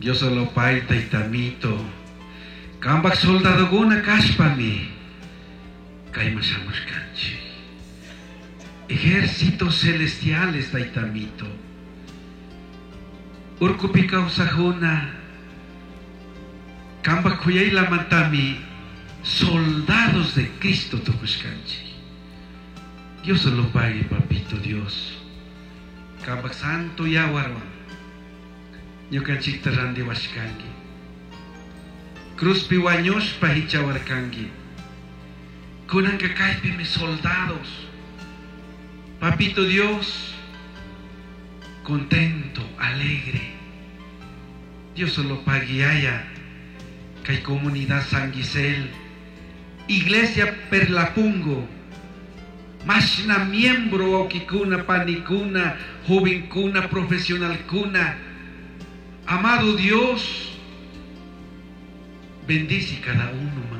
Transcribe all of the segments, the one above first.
Dios solo pagui taytamito. Kambak soldadokuna kashpami kayman shamushkanchik. Ejércitos celestiales, taytamito. Urkupi kawsajuna kambak kuyaylamantami soldados de Cristo tukushkanchik. Dios solo pagui, papito Dios. Kambak santo yawarwan ñukanchikta randiwashkanki. Cruzpi wañushpa hichawarkanki. Kunanka kaypimi soldados. Papito Dios, contento, alegre. Dios solo pagui yaya kay comunidad San Gisel, Iglesia Perlapungo, mashna miembro wawkikuna, panikuna, jovenkuna, profesionalkuna. Amado Dios, bendice cada uno, ma.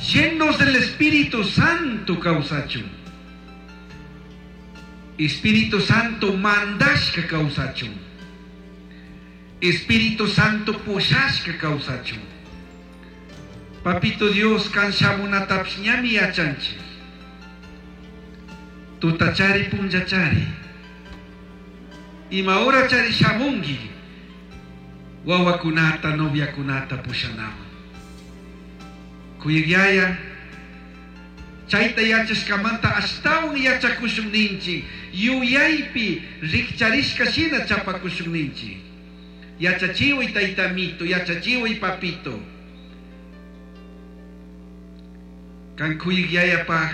Llenos del Espíritu Santo kawsachun. Espíritu Santo mandashka kawsachun. Espíritu Santo pushashka kawsachun. Papito Dios, kan shamunatapish ñami yachanchik. Tutachari punllachari. Ima horachari shamunki. Wawakunata, noviakunata pushanaman. Kuyak yaya, chayta yachashkamanta ashtawan yachakushun ninchik, yuyaypi rikcharishka shina chapakushun ninchik. Yachachiway taytamito, yachachiway papito. Kan kuyak yayapaj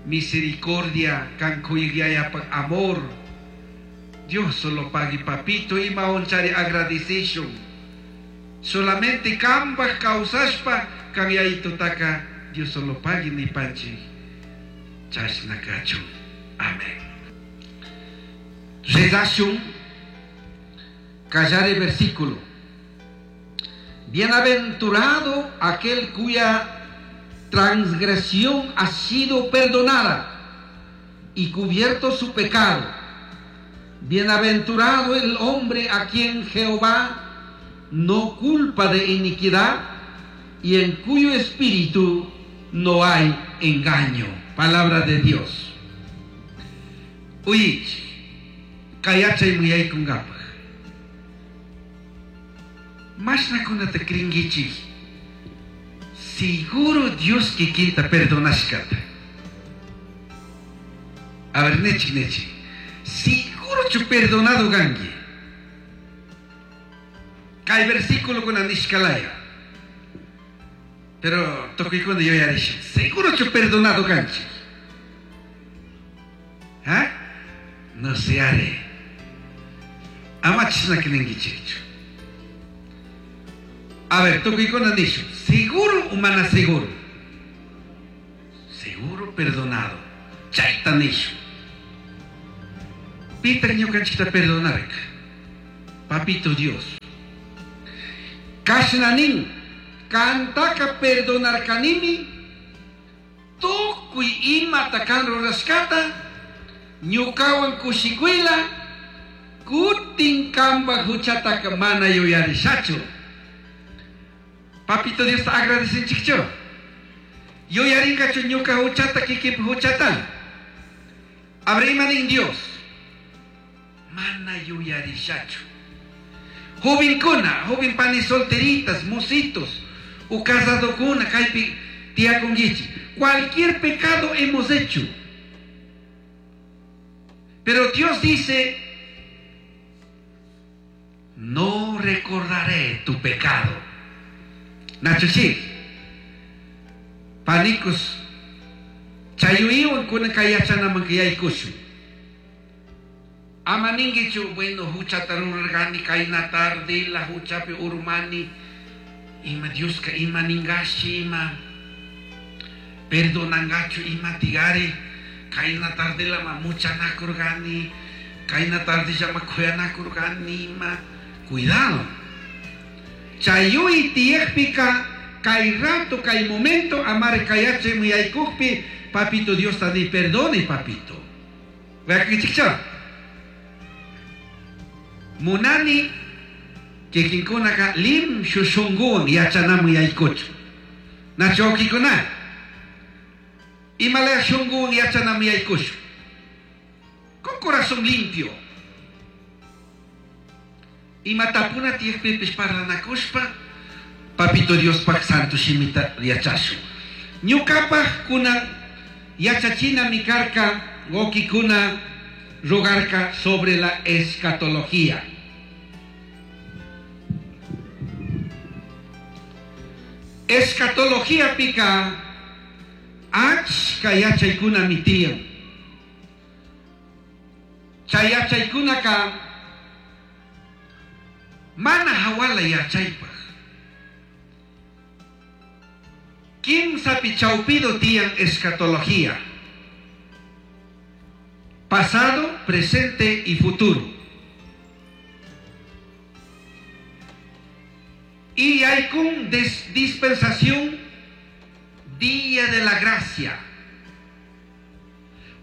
misericordia, kan kuyak yayapaj amor. Dios solo pagui papito ima onchari agradecishun. Solamente kambaj kawsashpa kan yayitutaka Dios solo pagui nipanchik. Chashna kachun. Amén. Rezashun kallari versículo. Bienaventurado aquel cuya transgresión ha sido perdonada y cubierto su pecado. Bienaventurado el hombre a quien Jehová no culpa de iniquidad y en cuyo espíritu no hay engaño. Palabra de Dios. Uyich, kayachay muyaykunkapaj. Mashnakunata cringuichik. Seguro Dios kikinta perdonashkata. A ver, nechik, nechik. Seguro chu perdonado kanki. Kay versículo kuna nishkalaya. Pero tukuykuna yuyarishun. Seguro chu perdonado kanchik. ¿Ah? No se haré. Ama chashna ninkichikchu. A ver, tukuykuna nishun. Seguro o mana seguro? Seguro perdonado. Chayta nishun. Pitaq ñukanchikta perdonarka. Papito Dios. Kashna nin, kantaka perdonarkanimi, tukuy imata kan rurashkata, ñukawan kushikuyla, kutin kambaj huchataka mana yuyarishachu. Papito Dios agradecinchikchu. Yuyarinkachu ñuka huchata kikinpi huchata. Abre nin Dios. Mana yuyarishachu. Jovenkuna, joven panis solteritas, mositos, o casadokuna, kaypi tiyakunkichik. Cualquier pecado hemos hecho. Pero Dios dice, no recordaré tu pecado. Nachu sí. Panicos, chayuywan kunan kay yachanaman yaykushun. Ama ninkichu, bueno, huchata rurarkani kayna tardela huchapi urmani. Ima Dioska ima ningashi ima perdonangachu ima tigari. Kayna tardela ma muchanakurkani. Kayna tardella ma kuyanakurkani ima. Cuidado. Chayuy tiyakpika kay rato, kay momento, amar kayache muyaykukpi, papito Dios tani perdone, papito. Vea que chicha. Munani kikinkunaka limshu shunguwan yachanaman yaykuchun. Nachu wawkikuna? Imalaya shunguwan yachanaman yaykushun? Con corazón limpio. Ima tapuna tiyajpipish parlanacushpa, Papito Diospaj Santo Shimita yachashun. Ñucapaj cunan yachachinami carca, wawkikuna rogarca sobre la escatología. Escatologiapica achca yachaicunami tiyan. Chay yachaykunaka mana hawala yachaypaj. Kimsapi chawpido tiyan escatología. Pasado, presente y futuro. Y hay con dispensación día de la gracia.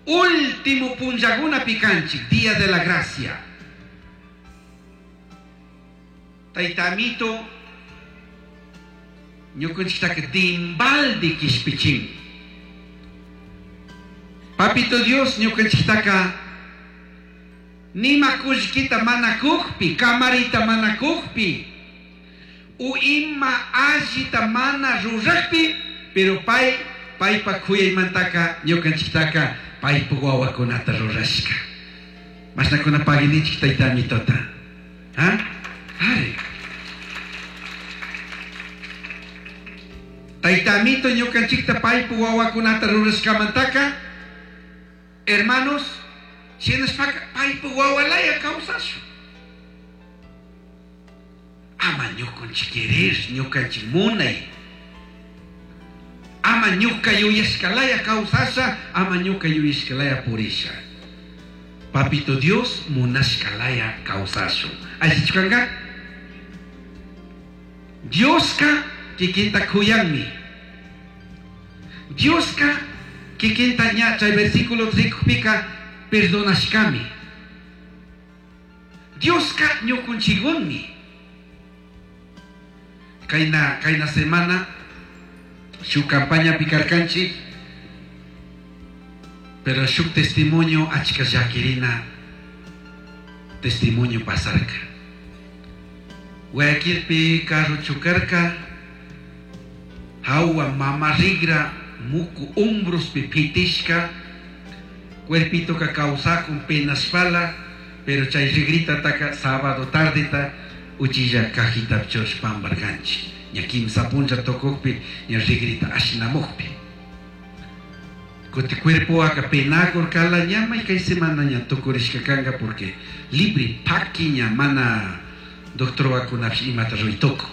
Último punllakuna picanchik, día de la gracia. Tayta Amito, ñukanchiktaka dimbaldi kishpichin. Papito Dios ñukanchiktaka nima kullkita mana kukpi, kamarita mana kukpi, u ima allita mana rurakpi, pero pay, paypa kuyaymantaka ñukanchiktaka paypa wawakunata rurashka. Mashnakuna paginichik tayta Amitota. ¿Ah? Ari. Tayta Amito ñukanchikta paypa wawakunata rurashkamantaka, hermanos, shinashpaka paypa wawalaya kawsashun. Ama ñukanchik querer, ñukanchik munay. Ama ñuka yuyashkalaya kawsasha, ama ñuka yuyashkalaya purisha. Papito Dios munashkalaya kawsashun. Allichu kanka? Dioska kikinta kuyanmi. Dioska kikinta ña chay versículo rikukpika perdonashkami. Dioska ñukunchikunmi. Kayna, kayna semana shuk campaña pikarkanchik, pero shuk testimonio achka llakirina testimonio pasarka. Guayaquilpi carro chukarka, hawa mama rigra muku hombrospi pitishka, cuerpito ka kawsakun penashpala, pero chay rigrita taka sábado tardeta uchilla cajita churash pambarkanchik. Ña kimsa punlla tukukpi, ña rigrita ashnamukpi. Kuti cuerpo aka penakurkala ña may kay semana ña tukurishka kanka porque libre paki ña mana doctor wakunapish imata ruy tukun.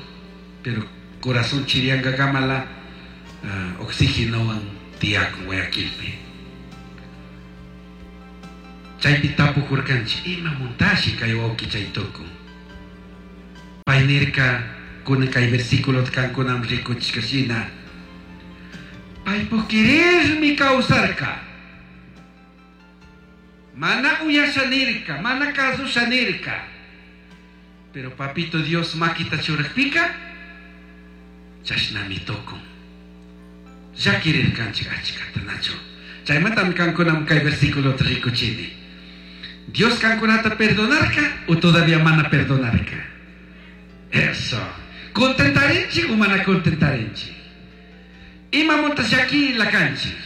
Pero corazón chiriankakamala oxígenowan tiyakun Guayaquilpi. Chaypi tapukurkanchik imamuntashi kay wawki chay tukun. Pay nirka kunan kay versículo kankunam rikuchishka shina. Paypuk querermi kawsarka. Mana uyasha nirka, mana kasusha nirka. Pero papito Dios makita churakpika, chashnami tukun. Llakirirkanchik achkata nachu. Chaymantami kankunam kay versículo rikuchini. Dios kankunata perdonarka o todavía mana perdonarka. Eso. Contentarinchik o mana contentarinchik. Imamunta llakirila kanchik.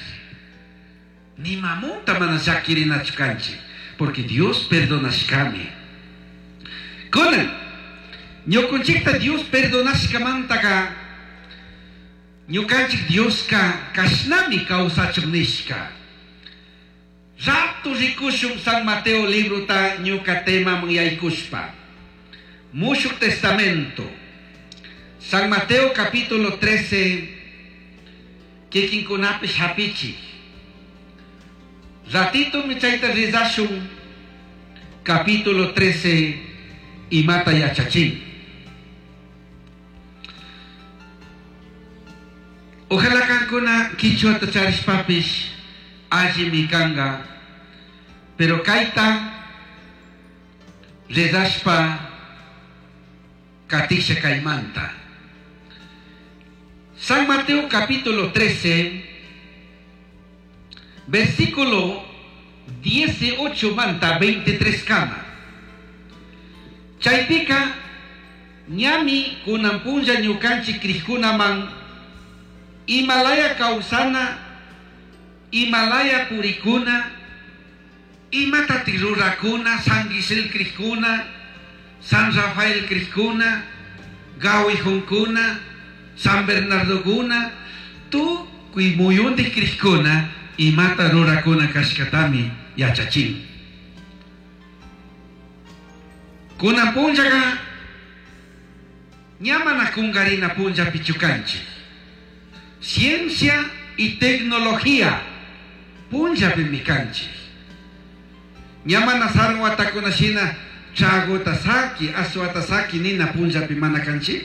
Nimamunta mana llakirinachu kanchik. Porque Dios perdonashkami. Kunan, ñukunchikta Dios perdonashkamantaka, ñukanchik Dioska kashnami kawsachun nishka. Rato rikushun San Mateo librota ñuka temaman yaykushpa. Mushuk Testamento. San Mateo capítulo 13, kikinkunapish hapichik. Ratito mi chayta rizashun, capítulo 13, imata yachachin. Ojalá kankuna kichwata charishpapish allimi kanga, pero kayta Rezashpa katisha kaymanta. San Mateo capítulo 13, versículo 18 manta 23 kama. Chaypika ñami kunan punlla ñukanchik krikkunaman imalaya kawsana, imalaya purikuna, imatatik rurakuna, San Gisel krikuna, San Rafael krikuna, Gawijunkuna, San Bernardokuna, tukuy muyundik krikuna imata rurakuna kashkatami yachachin. Kunan punllaka ña mana kunkarina punllapichu kanchik. Ciencia y tecnología punllapimi kanchik. Ña mana sarun watakuna shina tragota saki, aswata saki nina punllapi mana kanchik.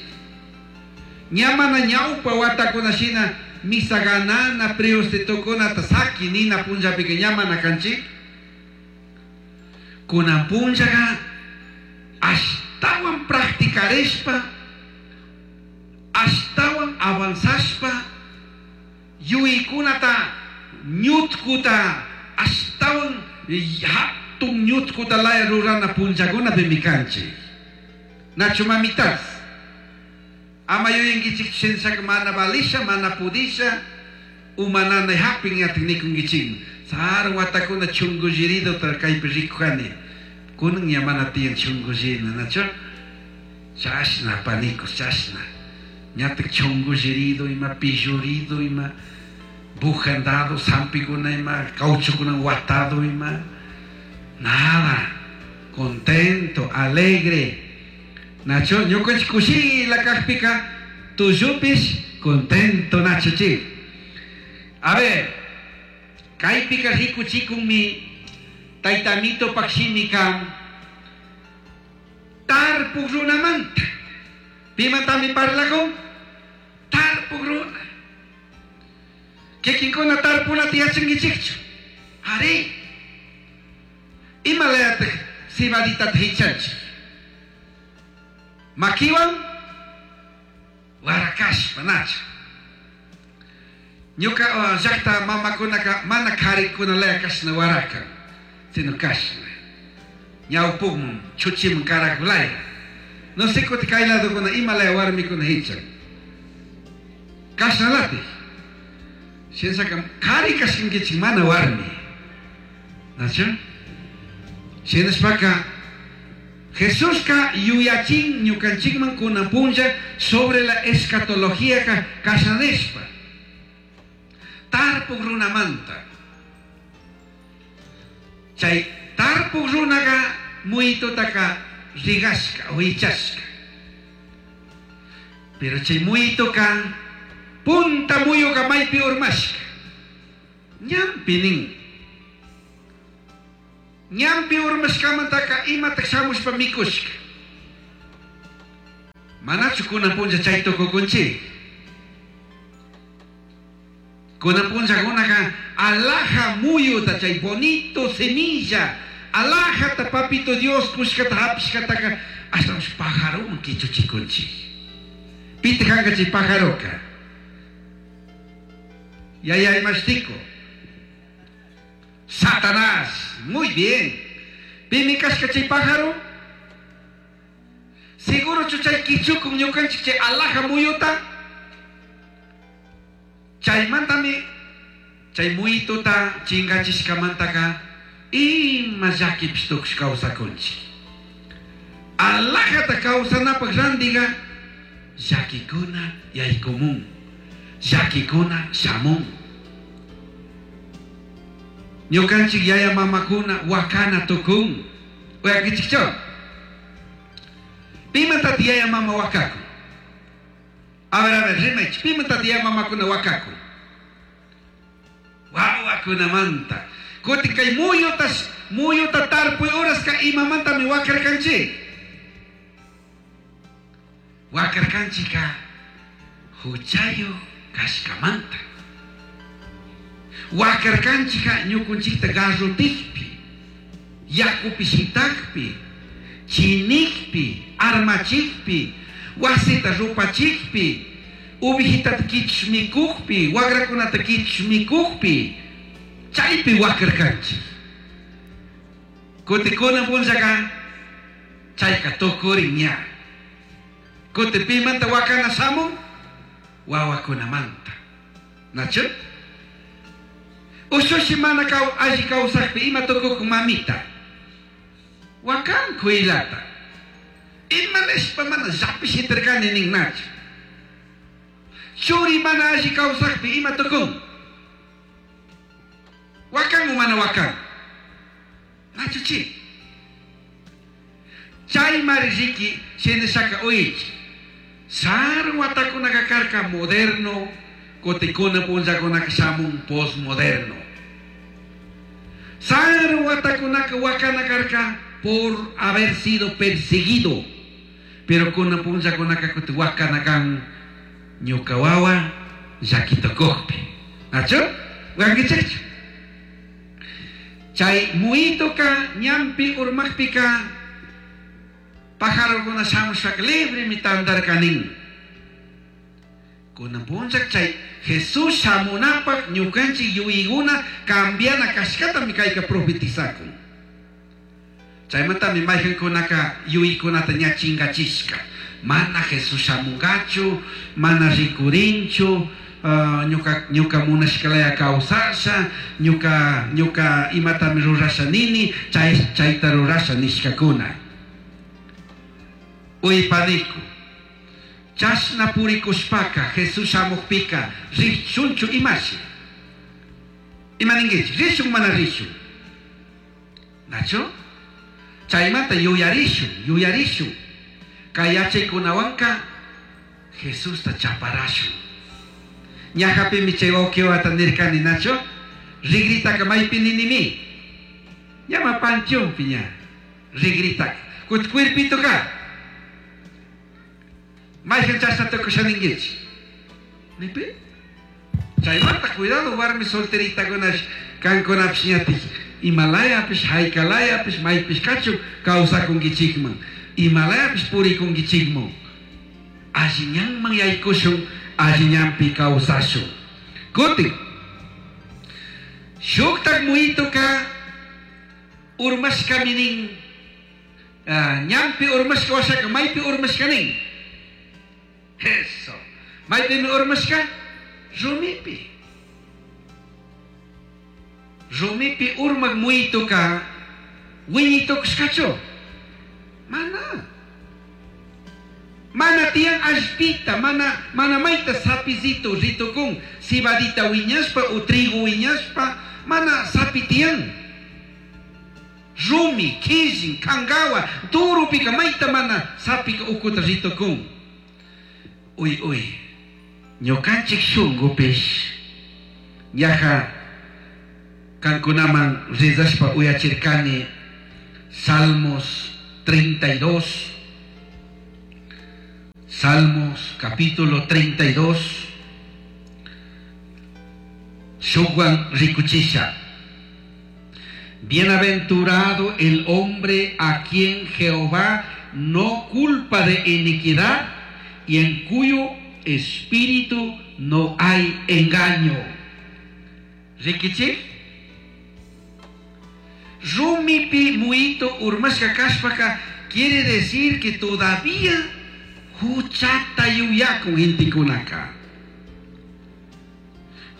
Ña mana ñawpa watakuna shina misa ganana priostetukunata saki nina punllapika ña mana kanchik. Kunan punllaka ashtawan practicarishpa, ashtawan avanzashpa, yuyaykunata ñutkuta ashtawan hatun ñutkuta laya rurana punllakunapimi kanchik. Nachu mamitas? Ama yuyankichik shinshaka mana valisha, mana pudisha, umananay hapin ñatik nikunkichikmi. Sarun watakuna chungulliriduta kaypi rikujani. Kunan ña mana tiyan chungullina, nachu? Chashna panicos, chashna. Ñatik chungullirido ima, pillurido ima, bujandado, sampikuna ima, cauchukuna watado ima. Nada. Contento, alegre. Nacho, ñukanchik kushila kajpika, tullupish contento, nacho chi. A ver, kaypika rikuchikunmi tayta Amitopak shimika tarpuk runamanta. Pimantami parlakun? Tarpuk runa. Kikinkuna tarpunata yachankichikchu? Ari. Imalayatak cebaditata hichanchik? Makiwan warakashpa, nacha. Ñuka llakta mamakunaka mana karikunalaya kashna warakan, sino kashna. Ñawpukman, chuchiman karakulaya. No sé kuti kay ladokuna imalaya warmikuna hichan. Kashnalatik. Shinashaka kari kashkankichik mana warmi. Nacha? Shinashpaka Jesuska yuyachin ñukanchikman kunan punlla sobre la escatología ka kashna nishpa. Tarpuk runamanta. Chay tarpuk runaka muyitutaka rigashka o hichashka. Pero chay muyituka punta muyuka maypi urmashka. Ñampi nin. Ñampi urmashkamantaka imatak shamushpa mikushka. Manachu kunan punlla chay tukukunchik? Kunan punllakunaka alhaja muyuta chay bonito semilla, alhajata papito Dios kushkata hapishkataka ashtawanshi pajaroman kichuchikunchik. Pitak kanka chay pajaroka? Yaya imashtiko. Satanás. Muy bien. Pimi kashka chay pájaro? Seguro chay kichukun ñukanchik chay alhaja muyuta? Chaymantami chay muyituta chingachishkamantaka ima llakipish tukush kawsakunchik. Alhajata kawsanapak randiga llakikuna yaykumun, llakikuna shamun. Ñukanchik yaya mamakuna wakana tukun. Uyakichikchu? Pimantataq yaya mama wakakun? A ver, rimaychik. Pimantataq yaya mamakuna wakakun? Wawakunamanta. Kutin kay muyuta tarpuy uraska imamantami wakarkanchik? Wakarkanchika huchayu kashkamanta. Wakarkanchika ñukunchikta garrotikpi, yakupi shitakpi, Chinijpi, armachijpi, wasita rupachijpi, ovejitata quichush micujpi, huagracunata quichush micujpi, chaipi huacarcanchij. Cutin cunan punllaca chaica tucurin ña. Cutin pimanta huacana shamun? Huahuacunamanta. Nachu? Ushushi mana alli causajpi ima tucucun mamita? Huacan cuilata. Ima nishpa mana llapi shitarcani nin nachu? Churi mana alli causajpi ima tucun? Huacan o mana huacan? Nachu chi? Chaimari riqui shinashaka uichi. Sarun watakunaka karka moderno, cutin kunan punllakunaka shamun postmoderno. Sarun watakunaka huacana karka por haber sido perseguido. Pero kunan punllakunaka cutin huacana kan ñuka wawa llaqui tucujpi. Nachu? Huacanguichijchu? Chay muhitoca ñanpi urmajpica pajarocuna shamushpaca libremi tandarca nin. Cunan punlla chay Jesús shamunapaj ñucanchij yuyaicuna cambiana cashcatami caica profetizacun. Chaimantami maijancunaca yuyaicunata ña chingachishca. Mana Jesús shamungachu, mana ricurinchu, ñuca, ñuca munashcalaya causasha, ñuca, ñuca imatami rurasha nini, chay, chaita rurasha nishcacuna. Uy panicu, chashna puricushpaca Jesús shamujpica rishunchu imashi? Ima ninguichij? Rishun mana rishun? Nachu? Chaimanta yuyarishun, yuyarishun. Cay yachaycunahuanca Jesusta chaparashun. Ñajapimi chay huauquiwata nircani, nachu? Rigritaca maipi ninimi? Ñama panteonpi ña. Rigritaca. Cutin cuerpitoca? Maijan chashna tucusha ninguichij? Nipi? Chaimanta cuidado warmi solteritacunash cancunapish ñatik imalayapish, jaicalayapish, maipish cachun causacunguichijman. Imalayapish puricunguichijman. Alli ñanman yaicushun, alli ñanpi causashun. Cutin, shujtaj muhitoca urmashcami nin. Ñanpi urmashca huashaca maipi urmashca nin? Eso. Maipimi urmashca? Rumipi. Rumipi urmaj muhitoca huiñai tucushcachu? Mana. Mana tiyan allpita, mana, mana maita sapizito ritucun, cebadita huiñashpa o trigo huiñashpa, mana sapi tiyan. Rumi, quillin, cangawa, durupica maita mana sapica ucuta ritucun. Uy, uy, ñucanchij shungupish ñaja cancunaman rezashpa uyachircani Salmos 32, Salmos capítulo 32, shukwan ricuchisha. Bienaventurado el hombre a quien Jehová no culpa de iniquidad y en cuyo espíritu no hay engaño. Riquichij? Rumipi muhito urmashca cashpaca quiere decir que todavía huchata yuyacun gentecunaca.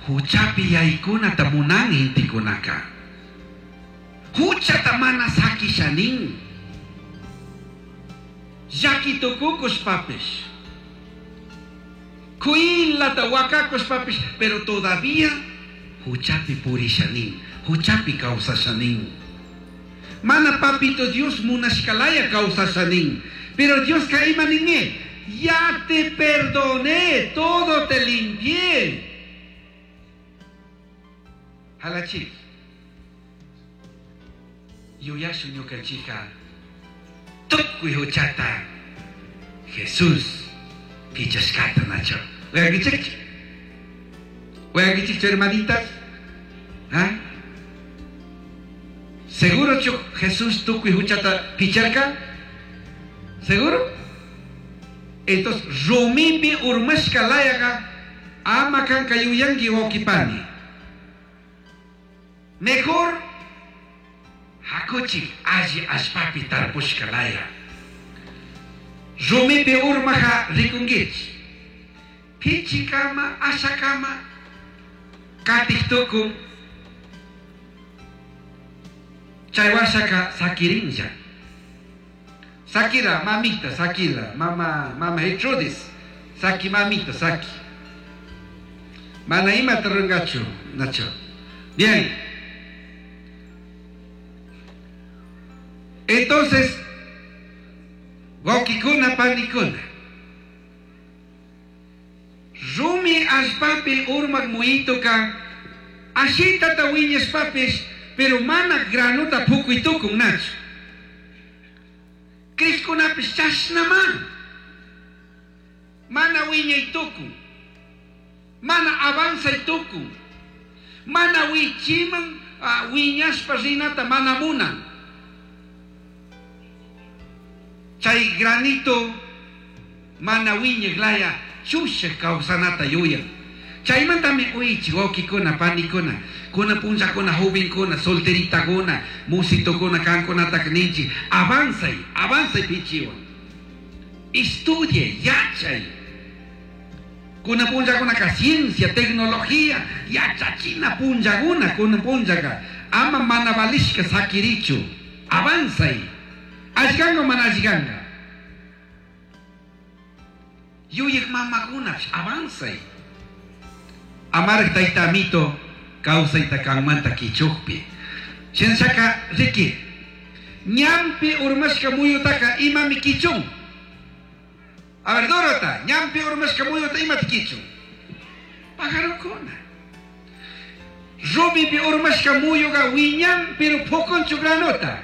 Huchapi yaicunata munan gentecunaca. Huchata mana saquisha nin. Llaqui tucucushpapish. Cuilata huacacushpapish, pero todavía huchapi purisha nin, huchapi causasha nin. Mana papito Dios munashcalaya causasha nin. Pero Diosca ima ninmi, ya te perdoné, todo te limpié. Jalachi. Yuyashun ñucanchijca tucui huchata Jesús pichashcata nachu. Uyanguichijchu? Uyanguichijchu hermanitas? ¿Ah? Seguro chu Jesús tucui huchata picharca? Seguro? Entonces, rumipi urmashka layaga ama kanka yuyanki wawkipani. Mejor hakuchik alli allpapi tarpushka laya. Rumipi urmaja rikunkichik. Pichikama, ashakama, katik tukun. Chay washaka sakirinlla. Sakila, mamita, sakila, mama, mama Gertrudis, saki mamita, saki. Mana imata rungachu, Nacho. Bien. Entonces, wawkikuna, panikuna. Rumi allpapi urmak muyituka ashitata wiñashpapish, pero mana granuta pukuy tukun, Nacho. Crijkunapish chashnama. Mana wiñay tukun. Mana avanzay tukun. Mana wichiman wiñashpa rinata mana munan. Chay granito mana wiñak laya chushak kawsanata yuyan. Chaymantami uichi wawkikuna, panikuna, kuna punllakuna, jovenkuna, solteritakuna, musitokuna, kankunataka ninchik, avanzay, avanzay pichiwan. Estudie, yachay. Kuna punllakunaka ciencia, tecnología, yachachina punllakuna, kuna punllaka. Ama mana valishka sakirichu. Avanzay. Allkanga mana allkanga. Yuyek mamakunapish avanzay. Amaraj tayta amito kawsayta kanmanta kichukpi. Shinashaka riki, ñampi urmashka muyutaka imami kichun. A ver, Dorota, ñampi urmashka muyuta imata kichun. Pajarokuna. Rumipi urmashka muyuka wiñan, pero pukunchu granota.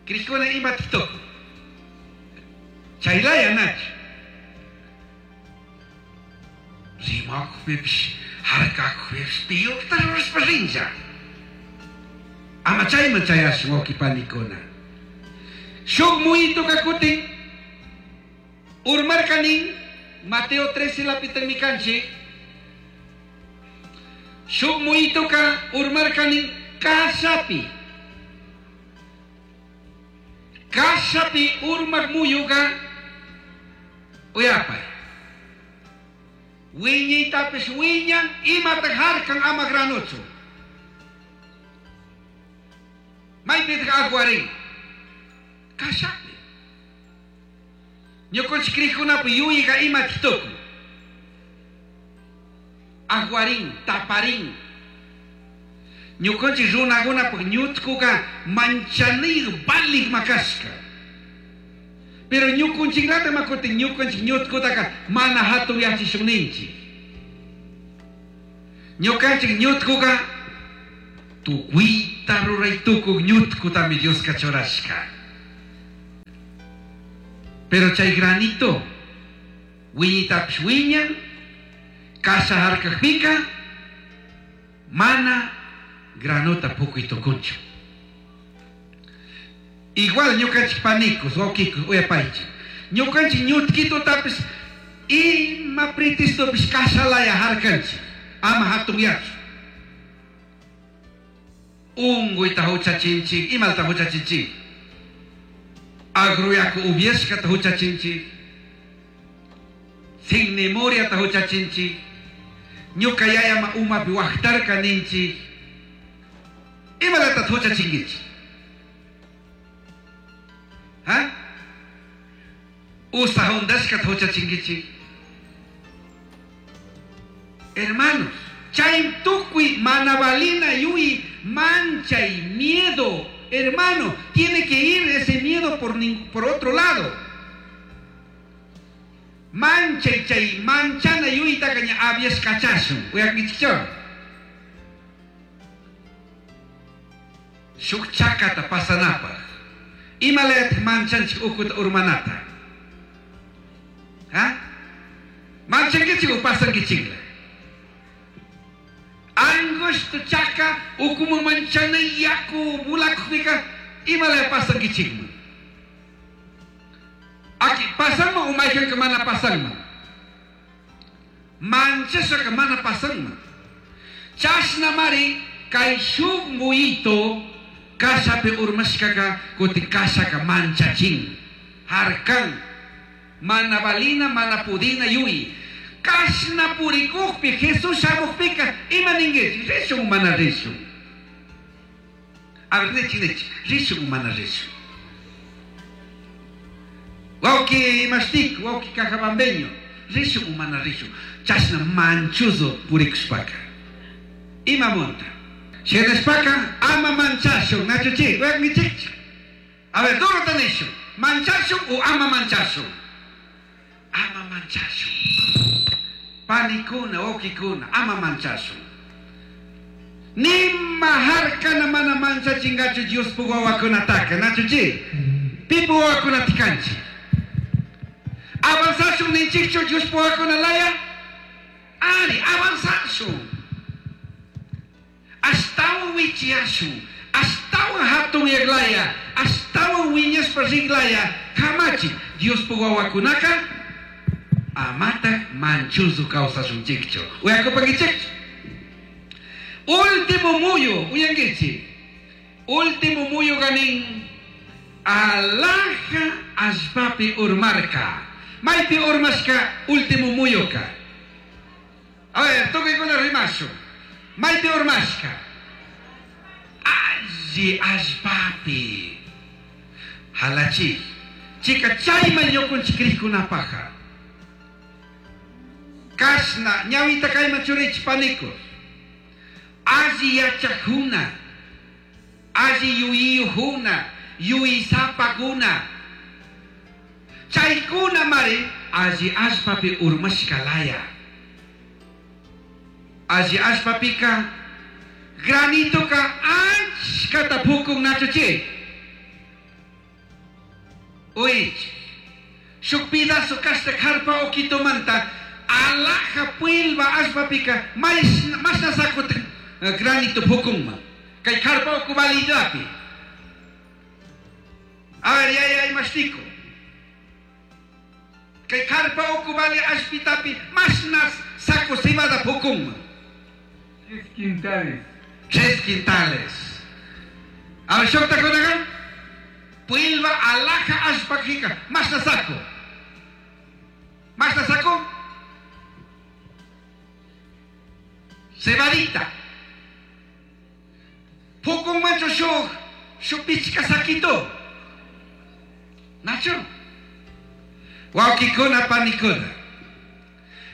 Crikuna imata tukun. Chaylaya nachu. Rimakujpipish, harkakujpipish, piyukta rurashpa rinlla. Ama chayman chayashun wawqi panikuna. Shuk muyituka kutin urmarkanin Mateo 13 lapitami kanchik. Shuk muyituka urmarkanin kashapi. Kashapi urmak muyuka uyapay. Wiñaytapish wiñan imata harkan ama granuchu. Maypitaq aguarin. Kashapi. Ñukanchik crikkunapi yuyayka imataq tukun. Aguarin, taparin. Ñukanchik runakunapaq ñutkuka manchanir valik makashka. Pero ñukunchiklata makutin ñukanchik ñutkutaka mana hatun yachishunninchik. Ñukanchik ñutkuka tukuyta ruray tukuq ñutkutami Dioska churashka. Pero chay granito wiñitapish wiñan, kasha harkakpika mana granota pukuy tukunchu. Igual ñukanchik panikus, wawkikus, uyapaychik. Ñukanchik ñutkitutapish ima pretextopish kashalaya harkanchik. Ama hatun yachu. Unkuyta huchachinchik, imata huchachinchik. Agruyaku upiashkata huchachinchik. Sin memoriata huchachinchik. Ñuka yayama umapi waqtarka ninchik. Imalata huchachinkichik. Ha? Usa hundashkata huchachinkichik. Hermanos, chay tukuy manabalina yui manchay miedo, hermano, tiene que ir ese miedo por otro lado. Manchay chay manchana yui takaña abias kachashun. Uyakichicho. Shuk chakata pasanapaj. Imalayat manchanchik ukuta urmanata. Ha? Manchankichik o pasankichikla. Angosto chaka ukumu manchana yaku bulakupika Imalaya pasankichikman. Aki pasanman o mayqanka mana pasanman. Manchashaka mana pasanman. Chashnamari kay shuk muyito kashapi urmashkaka kutin kashaka manchachin. Harkan. Mana valina, mana pudina yuyi. Kashna purikukpi Jesús shamukpika ima ninkichik? Rishun o mana rishun? A ver, nichik, nichik. Rishun o mana rishun? Wawki imashtik, wawki cajabambeño, rishun o mana rishun? Chashna manchuzo purikushpaka. Imamunta? Shinashpaka ama manchashun, nachuchik, uyankichikchu? A ver, durota nishun. Manchashun o ama manchashun? Ama manchashun. Panikuna, wawkikuna, ama manchashun. Nima harkana mana manchachingachu Diospuk wawakunataka, nachuchik? Pipu wawakunata kanchik? Avanzashun ninchikchu Diospuk wawakuna laya? Ari, avanzashun. Ashtawan wichiyashun, ashtawan hatun yaglaya, ashtawan wiñashpa riglaya, kamachi Diospuk wawakunaka amatak manchuzu kawsashunchikchu. Uyakupankichikchu? Último muyu, uyankichik. Último muyu ganin alaja allpapi urmarka. Maypi urmashka último muyuka. A ver, tukuykuna rimashun. Maypi urmashka. Alli allpapi. Halachi. Chika chayman ñukunchik krikkunapaja. Kashna ñawita kayman churichik paniku. Alli yachakuna, alli yuyiyujuna, yuyisapakuna. Chaykuna mari alli allpapi urmashka laya. Alli allpapika granitoka achkata pukun nachuchik. Uich. Shuk pedazo kashta karpa okitomanta alaja puilba allpapika mashna sakuta granito pukunman. Kay karpa uku validapi. A ver, ya, ya, imashtico. Kay karpa uku vali allpitapi mashna saco cebada pukunman. 3 quintales. 3 quintales. A ver, shukta kunaga. Puilba alaja allpakika mashna saco. Mashna saco. Cebadita. Pukun mancho shuk, shuk pichka saquito. Nacho. Wawkikuna panikuna.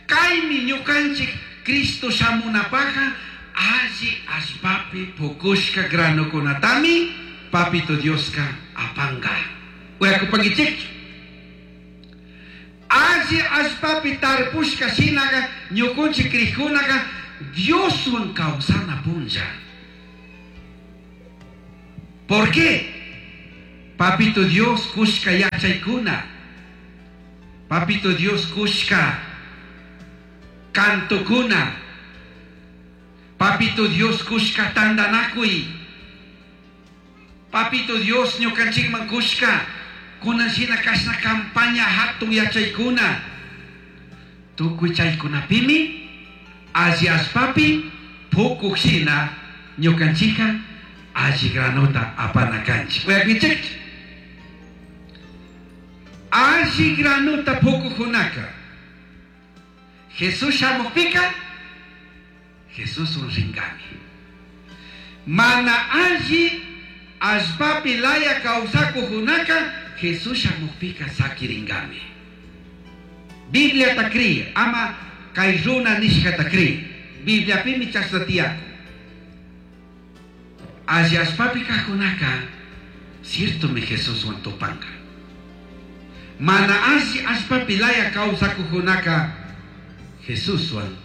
Kaymi ñukanchik Cristo shamunapaja alli allpapi pukushka granokunatami papito Dioska apanga. Uyakupankichikchu. Alli allpapi tarpushka shinaga ñukunchik krikunaga Dioswan kawsana punlla. ¿Por qué? Papito Dios kushka yachaykuna. Papito Dios kushka kantukuna. Papito Dios kushka tandanakuy. Papito Dios ñukanchikman kushka kunan shina kashna campaña hatun yachaykuna. Tukuy chaykunapimi alli allpapi pukuk shina ñukanchika alli granota apana kanchik. Uyakinchikchu? Alli granota pukukkunaka Jesús shamukpika Jesuswan rinkami. Mana alli allpapi laya kawsakuqkunaka Jesús shamukpika sakirinkami. Bibliata kri, ama kay runa nishkata kri. Bibliapimi chashna tiyakun. Alli allpapi kaqkunaka ciertomi Jesuswan tupanka. Mana alli allpapi laya kawsakuqkunaka Jesuswan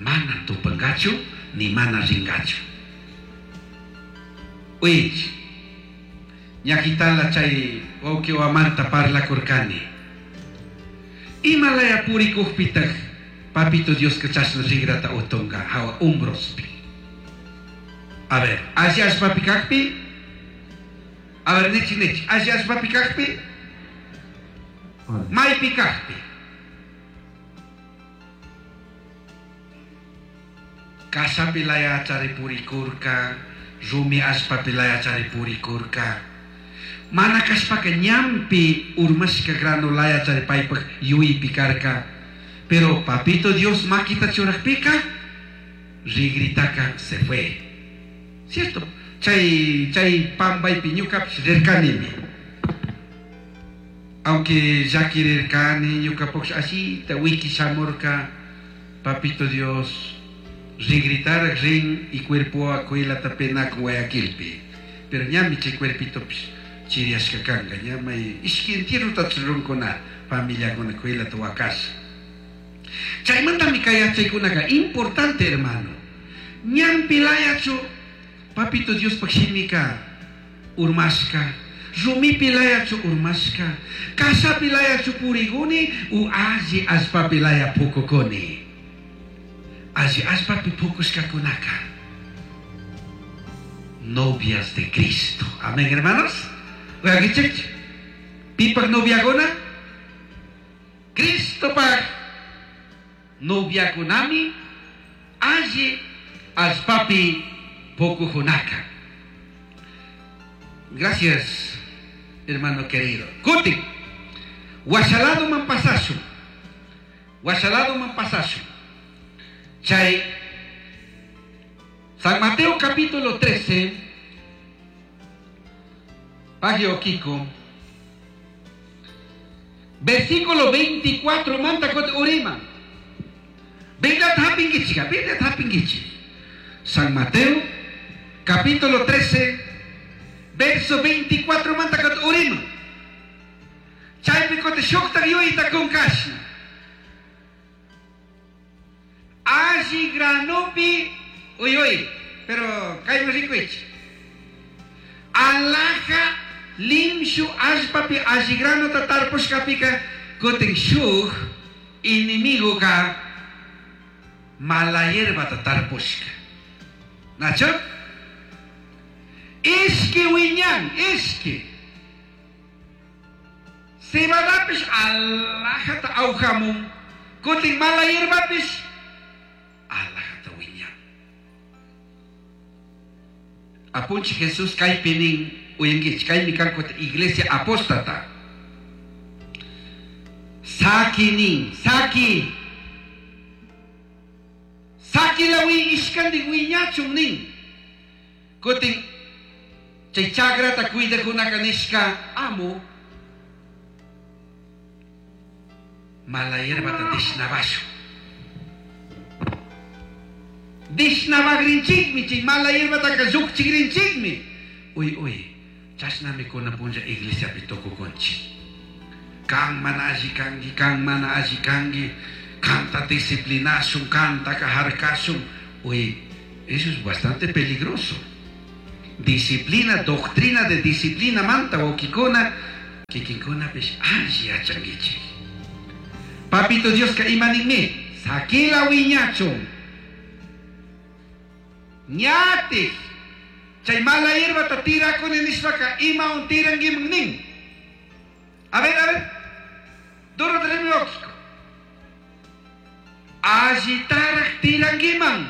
mana tupankachu ni mana rinkachu. Uich, ñakitala chay wawqiwamanta parlakurkani. Imalaya purikuqpitaq papito Dioska chashna rigrata utunka hawa umbrospi. A ver, alli allpapi kakpi A ver, nichi nichi, alli allpapi kajpi, maypi kajpi. Kashapi layachari purikurka, rumi allpapi layachari purikurka. Mana kashpaka ñanpi urmashka grano layachari paypaj yuypi karka. Pero papito Dios makita churajpika, rigritaka se fue. ¿Cierto? Chay, chay pambaypi ñukapish rirkanimi. Aunque llakirirkani ñukapush ashita wiki shamurka, papito Dios rigritaraj rin y cuerpo akuilata penakun Guayaquilpi. Pero ñami chay cuerpitopish chiriyashka kanka, ña may ishki entierrota runkuna familiakuna kuylata wakasha. Chaymantami kay yachaykunaka importante, hermano. Ñanpi layachu papito Diospaj shimika urmashka, rumipi layachu urmashka, kashapi layachu puriguni u alli allpapi laya pukukuni. Alli allpapi pukushkakunaka novias de Cristo. Amén, hermanos. Oigan, Pipaj noviakuna? Cristopaj noviakunami alli allpapi pukujunaka. Gracias, hermano querido. Kutin, washa ladoman pasashun. Washa ladoman pasashun. Chay San Mateo capítulo 13, página Kiko, versículo 24, manta kot urima. Biblia hapingichi, Biblia hapingichi. San Mateo, capítulo 13, verso 24, manta kot urima. Chaypi kote shukta yuyta kun kashna. Alli granopi, uy uy, pero kayman rikuichi. Alaja limshu allpapi alli granota tarpushkapika kutin shuk enemigo ka mala hierbata tarpushka. Nacho? Ishki wiñan, ishki. Cebadapish alajata awjamun, kutin mala hierbapish alajata wiñan. Apunchi Jesús kaypi nin uyankichik, kaymi kan iglesia apóstata. Saki nin, saki. Saki la wi ishkandik wiñachun nin. Kutin chay chakrata cuidakunaka nishka amo mala hierbata dishnabashun. Dishnabagrinchikmi chay mala hierbataka llukchigrinchikmi. Uy uy, chashnami kunan punlla iglesiapi tukukunchik. Kan mana alli kanki, kan mana alli kanki, kanta disciplinashun, kantaka harkashun. Uy, eso es bastante peligroso. Disciplina, doctrina de disciplina manta wawkikuna, kikinkunapish alli yachankichik. Papito Dios ka imaninmi, sakila wiñachun. Ñatik, chay mala hierbata tirakuni nishpaka imawan tirankiman nin. A ver, a ver, duro lógico. Allitaraj tirankiman.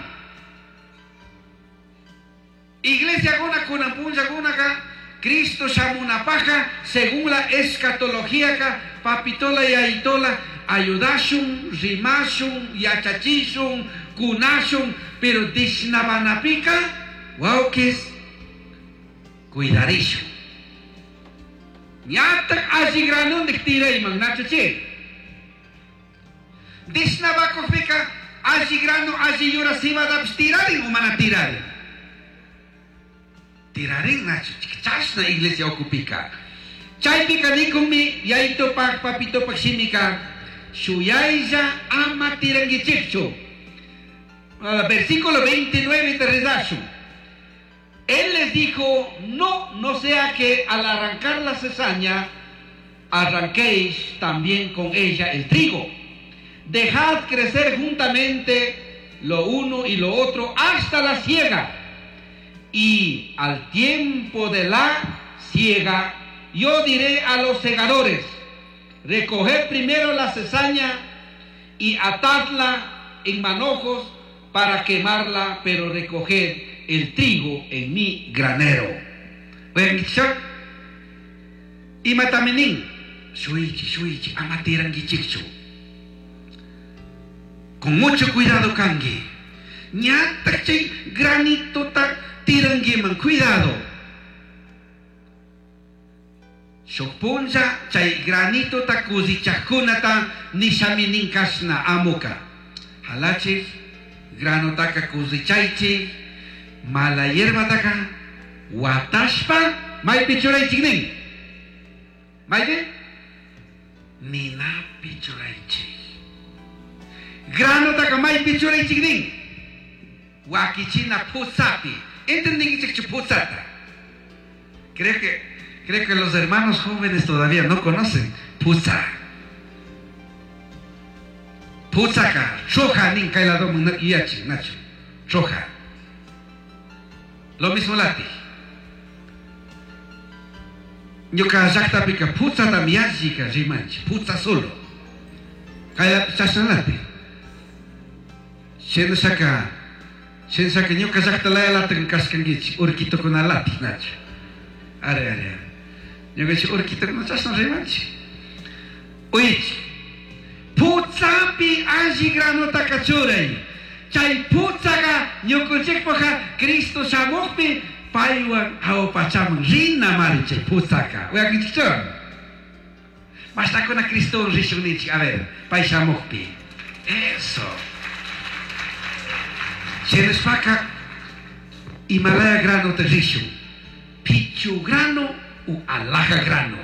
Iglesia kuna kunan punllakunaka Cristo shamunapaja según la escatología ka papitola y aitola ayudashun, rimashun, yachachishun, kunashun, pero dishnabanapika wawkis cuidarishun. Ñatak alli granundik tirayman, nacho chi. Dishnabakujpika alli grano, alli yura cebadapish tirarin o mana tirarin. Tirarin nacho, chashna iglesia ukupika. Chaypika nikunmi yayitopak papitopak shimika shuyaylla ama tirankichikchu. Versículo 29 de rezashun. Él les dijo, no, no sea que al arrancar la cizaña, arranquéis también con ella el trigo. Dejad crecer juntamente lo uno y lo otro hasta la siega. Y al tiempo de la Siega, yo diré a los segadores: recoged primero la cizaña y atadla en manojos para quemarla, pero recoged el trigo en mi granero. Imatami nin, shuichi, shuichi, ama tiranguichikchu. Con mucho cuidado kanki. Ñatak chay granitota tiranguiman, cuidado. Shuk punlla chay granitota kusichajkunata nishami nin kashna amuka. Halachik, granotaka kusichaychik, mala hierbataka watashpa maypi churaychik nin. Maypi? Ninapi churaychik. Granotaka maypi churaychik nin. Wakichina putzapi. ¿Entendinkichikchu putzata? Creo que los hermanos jóvenes todavía no conocen putza. Putzaka, choja nin kay ladoman yuyachin, nacho. Choja. Lo mismo lati. Ñuka llaqtapika putzatami yallika rimanchik, putza solo. Kay chashna lati. Shinashaka, shinashaka ñuka llaqta laya latin kashkankichik, urquitukuna lati, nacho. Are, are, are. Ñukanchik urquitukuna chashna rimanchik. Uychik. Putzapi alli granotaka churay. Chay putzaka ñukanchikpaqa Cristo shamuqpi paywan hawa pachaman rina mari chay putzaka. Uyakinchikchu? Mashtakuna Cristo rishun ninchik, a ver, pay shamuqpi. Eso. Shinashpaka imalaya granota rishun. Pichu grano u alhaja grano.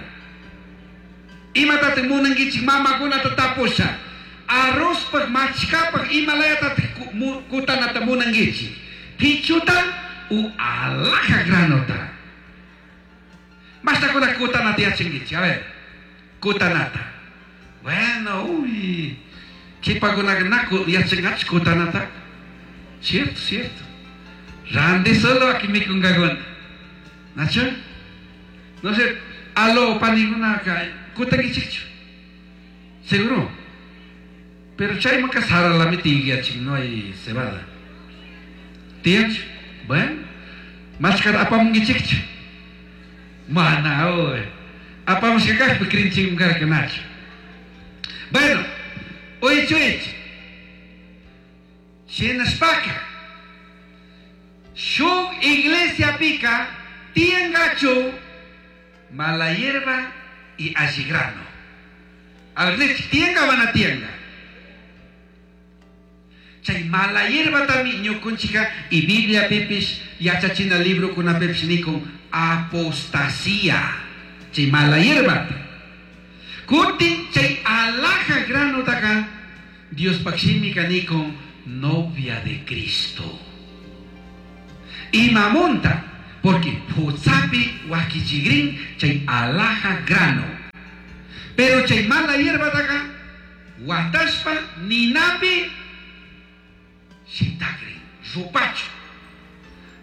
Imatataq munankichik mamakunata tapusha. Arrozpaq machkapaq imalayataq kutanata munankichik. Pichuta u alhaja granota. Mashtakuna kutanata yachankichik, a ver. Kutanata. Bueno, uy. Kipakunaqa naku yachanqachik kutanata. Cierto, cierto. Randi solo aquí mikunkakuna. Nacho? No sé, alo panikunaka kutankichikchu. Seguro. Pero chaymanka saralami tiyachik, no hay cebada. Tiyanchu? Bueno, machkata apamunkichikchu. Mana, uy. Apamushka kaqpi krinchikmi karka, nacho. Bueno, uychu uychu. Shinashpaka, shuk iglesiapika tiyankachu mala hierba y alli grano. A ver, tiyanka mana tiyanka. Chay mala hierbatami ñukunchika y Biblia pipish yachachina librokunapipish nikun apostasía. Chay mala hierbata. Kutin chay alhaja granotaka Diospaq shimika nikun novia de Cristo. Imamunta, porque putzapi wakichigrin chay alhaja grano. Pero chay mala hierbataka watashpa ninapi shitakrin, rupachu.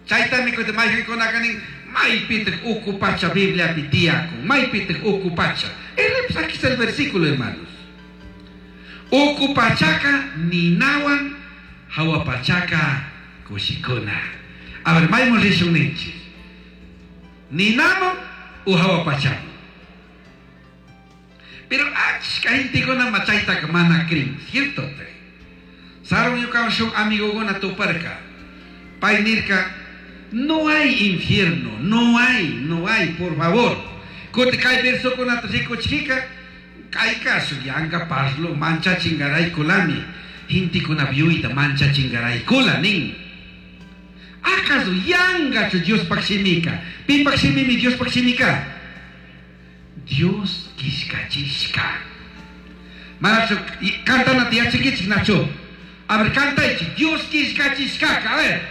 Chaytami kuti mayqinkunaka nin, maypitaq uku pacha Bibliapi tiyakun, maypitaq uku pacha. Aquí está el versículo, hermanos. Uku pachaka ninawan, hawa pachaka kushikuna. A ver, maymun rishun ninchik. Ninaman u hawa pachaman. Pero achka gentekuna chaytaka mana crin, cierto? Sarun ñukawan shuk amigokuna tuparka. Pay nirka, no hay infierno, no hay, no hay, por favor. Kuti kay versokunata rikuchika, kay caso yanka parlo manchachingaraykulami. Gentekuna yuyta manchachingaraykula nin. ¿Acaso yangachu Diospaq shimika? Pipak shimimi Diospaq shimika? Dios kishkachishka. Manachu cantanata yachankichik nachu. A ver, cantaychik. Dios kishkachishkaka. A ver.